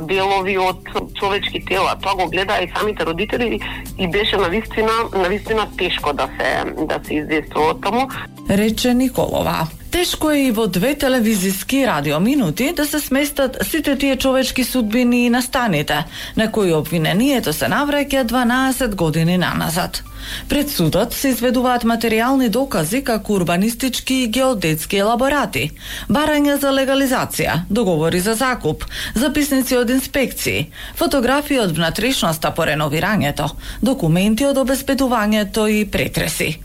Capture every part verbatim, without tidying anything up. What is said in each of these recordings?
делови од човечки тела. Тоа го гледаа и самите родители и беше навистина, навистина тешко да се да се издействува таму. Рече Николова. Тешко е и во две телевизиски радиоминути да се сместат сите тие човечки судбини и настаните, на кои обвинението се навраќа дванаесет години наназад. Пред судот се изведуваат материјални докази како урбанистички и геодетски елаборати, барања за легализација, договори за закуп, записници од инспекции, фотографии од внатрешноста по реновирањето, документи од обезбедувањето и претреси.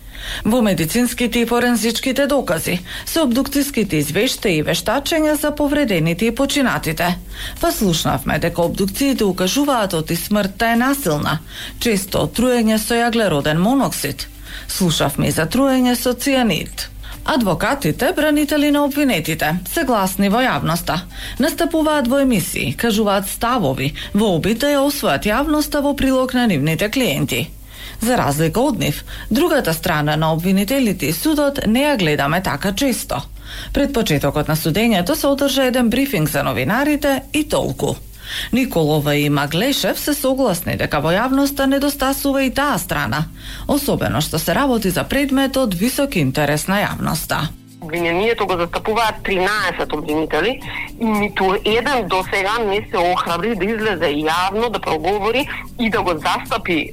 Во медицинските и форензичките докази, се обдукцијските извештаи и вештачења за повредените и починатите. Па слушнавме дека обдукциите укажуваат оти смртта е насилна, често од труење со јаглероден моноксид. Слушавме и за труење со цианид. Адвокатите, бранители на обвинетите, се гласни во јавноста. Настапуваат во емисии, кажуваат ставови, во обид да ја освојат јавноста во прилог на нивните клиенти. За разлика од нив, другата страна на обвинителите и судот не ја гледаме така често. Пред почетокот на судењето се одржа еден брифинг за новинарите и толку. Николова и Маглешев се согласни дека во јавноста недостасува и таа страна, особено што се работи за предмет од висок интерес на јавноста. Обвинението го застапуваат тринаесет обвинители и ниту еден до сега не се охрабри да излезе јавно, да проговори и да го застапи е,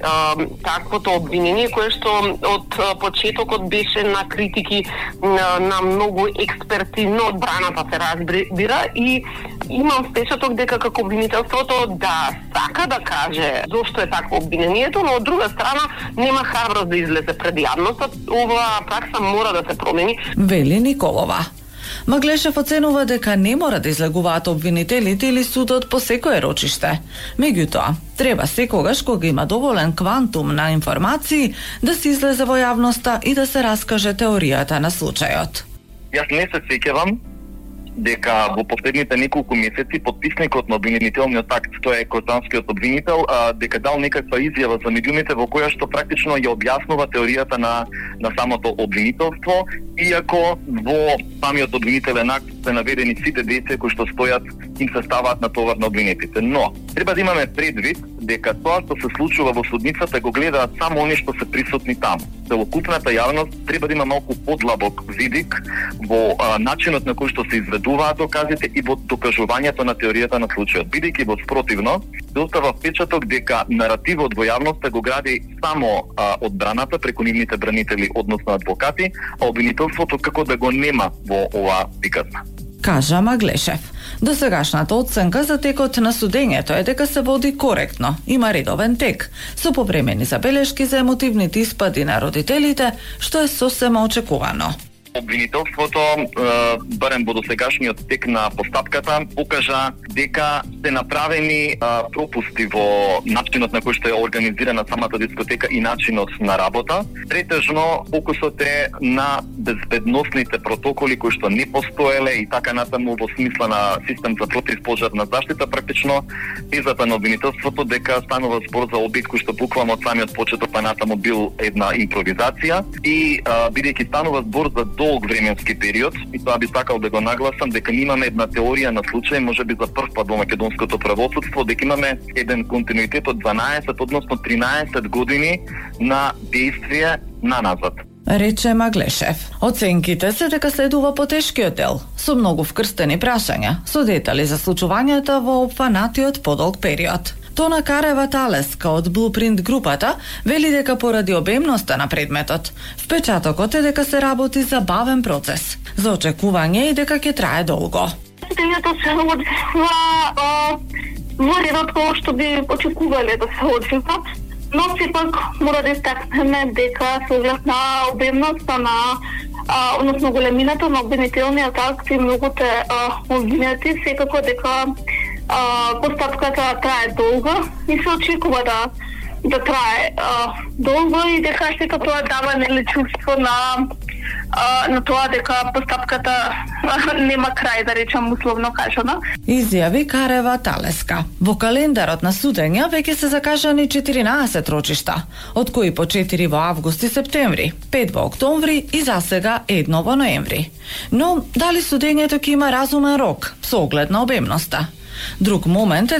таквото обвинение, кое што од почетокот беше на критики на, на многу експертивно одбраната се разбира и имам впечаток дека како обвинителството да сака да каже зошто е такво обвинението, но од друга страна нема храброст да излезе пред јавноста. Оваа пракса мора да се промени. Вели Николова. Маглешев оценува дека не мора да излегуваат обвинителите или судот по секое рочиште. Меѓутоа, треба секогаш кога има доволен квантум на информации да се излезе во јавноста и да се раскаже теоријата на случајот. Јас не се сеќавам дека во последните неколку месеци подписникот на обвинителниот акт, тоа е Козанскиот обвинител, а, дека дал некаква изјава за медиумите во која што практично ја објаснува теоријата на на самото обвинителство, иако во самиот обвинителен акт се наведени сите деца кои што стојат им се ставаат на товар на обвинетите. Но треба да имаме предвид дека тоа што се случува во судницата го гледаат само они што се присутни таму. Целокупната јавност треба да има малку подлабок видик во а, начинот на кој што се изведуваат доказите и во докажувањето на теоријата на случајот. Бидејќи во спротивно, се остава впечаток дека наративот во јавноста го гради само а, одбраната преку нивните бранители, односно адвокати, а обвинителството како да го нема во оваа приказна. Кажа Маглешев. Досегашната оценка за текот на судењето е дека се води коректно, има редовен тек, со повремени забелешки за емотивните испади на родителите, што е сосема очекувано. Обвинителството, барем во досегашниот тек на постапката, покажа дека се направени а, пропусти во начинот на кој што е организирана самата дискотека и начинот на работа. Претежно фокусот е на безбедносните протоколи кои што не постоеле и така натаму во смисла на систем за противпожарна заштита. Практично тезата на обвинителството дека станува збор за обид кој што буквално од самиот почеток па натаму бил една импровизација и бидејќи станува збор за долг временски период, и тоа би сакал да го нагласам дека имаме една теорија на случај, можеби за прв пат во македонското правосудство, дека имаме еден континуитет од дванаесет, односно тринаесет години на действие наназад. Рече Маглешев. Оценките се дека следува потешкиот дел, со многу вкрстени прашања, со детали за случувањата во опфанатиот подолг период. Тона Карева Талеска од Blueprint групата вели дека поради обемноста на предметот, впечатокот е дека се работи за бавен процес, за очекување и дека ќе трае долго. Судењето се одвива во редот кој што би очекувале да се одвива, но сепак мора да истакнеме дека се оглед на обемноста на а, односно големината на обвинителниот акт и многуте обвинети, секако дека Uh, постапката трае долго и се очекува да да трае uh, долго и дека сека тоа дава нели чувство на uh, на тоа дека постапката uh, нема крај, да речам условно кажано. Изјави Карева Талеска. Во календарот на судења веќе се закажани четиринаесет рочишта, од кои по четири во август и септември, пет во октомври и засега едно во ноември. Но дали судењето ќе има разумен рок со оглед на обемноста? Друг момент е